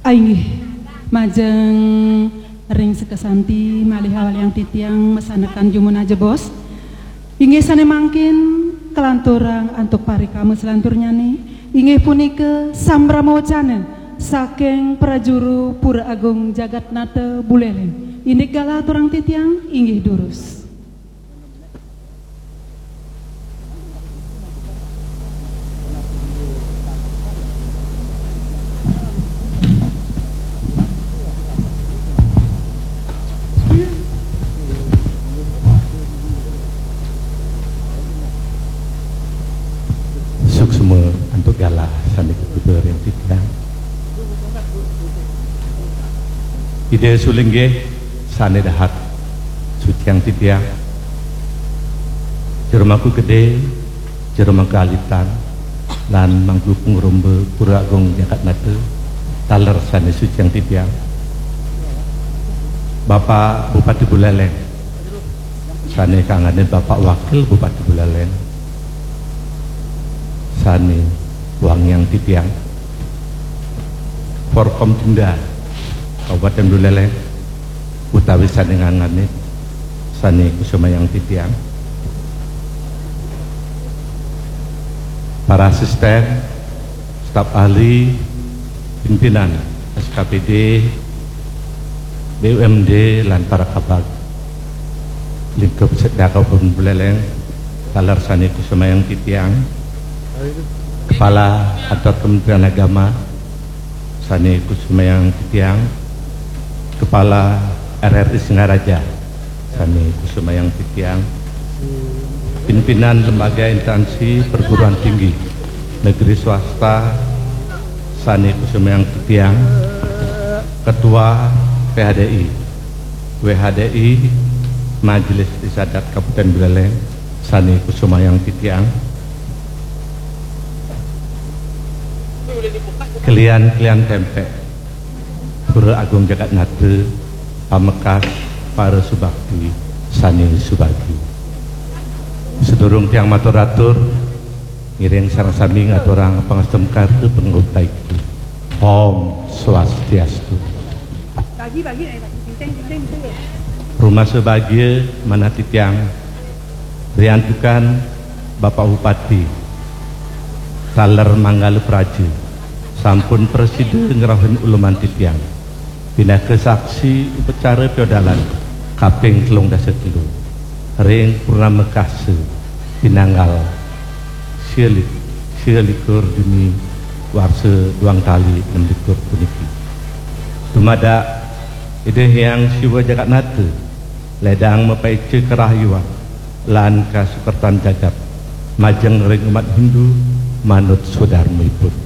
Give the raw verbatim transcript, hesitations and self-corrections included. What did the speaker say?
Ainggih, majeng ring sekasanti malih awaliang titiang masanekan jumuna jebos. Inggih sane mangkin kalanturang antuk parikama selanturnyane, inggih punika sambrama wacana saking Prajuru Pura Agung Jagatnata Buleleng. Indik galah aturang titiang, inggih durus. Suksma antuk galah sane kapitu ring titiang. Ida sulinggih sane dahat suciang titiang. Jero Mangku Gede, Jero Mangku Alitan, lan Mangku Pangrumba Pura Agung Jagatnata, taler sane suciang titiang. Bapak Bupati Buleleng, sane kanganin Bapak Wakil Bupati Buleleng, sane wangiang titiang. Forkompinda Kabupaten Buleleng, utawi sane nganganin, sane kusumayang titiang. Para asisten, staf ahli, pimpinan S K P D, B U M D, lan para kabag lingkup Sekda Kabupaten Buleleng, taler sane kusumayang titiang. Kepala Kantor Kementerian Agama, sane kusumayang titiang. Kepala R R I Singaraja, sane kusumayang titiang. Pimpinan lembaga instansi perguruan tinggi negeri swasta, sane kusumayang titiang. Ketua P H D I, W H D I, Majelis Desa Adat Kabupaten Buleleng, sane kusumayang titiang. Kelian-kelian tempek Pura Agung Jagatnata, pamekas para subakti sane subagi. Sedurung tiang matur-atur, ngiring sareng sami ngaturang pangastungkara pangutaiku. Om Swastiastu. Rumasa bagia manah titiang, riantukan Bapak Bupati, taler manggala praja, sampun prasida ngrauhin uluman titiang pinaka saksi upacara piodalan kaping telung dasa telu ring purnama kasa pinanggal sia lik-, sia likur Juni warsa duang tali enem likur puniki. Dumadak Ida Hyang Siwa Jagatnata ledang mapaica karahayuan lan kasukertan jagat majeng ring umat Hindu manut swadarmaipun.